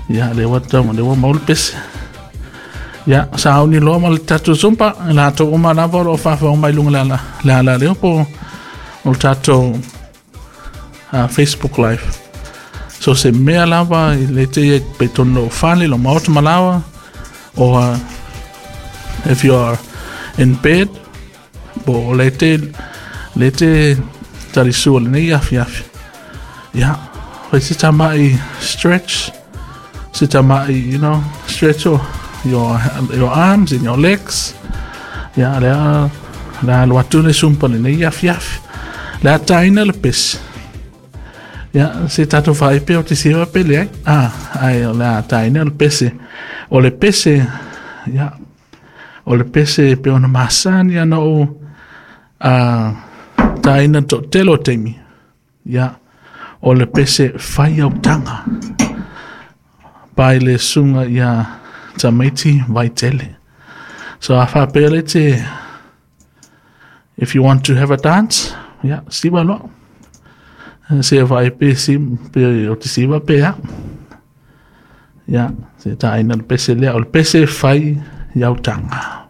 Ia, lea ua tau, lea ua maua le pese. Ia, sauni loa ma le tatou zumba, i latou uma lava o lo o faafofoga mai i luga le ala, le ala lea po o le tatou Facebook Live. So se mea lava i le te ia pe tonu lou fale, lou maota malaoa, or if you are in bed, po o le te, le te talisua lenei afiafi. Ia, fai se tamai stretch, se tamai, stretch your arms and your legs. Ia, lea, lea alu atu le sumpa lenei afiafi. Lea taina le pese. Ia, se tatou faaipe o te siva pe leai. Ah, ai, o lea taina le pese. O le pese, ia, o le pese pe ona masani ana o taina to telo taimi. Ia, o le pese whai autaga. Pai le sunga ia tamaiti vaitele. So a whapea le te, if you want to have a dance, ia, siva loa. Se vai pe si pe o te siva pe a. Ia, se taina le pese lea. O le pese whai autaga.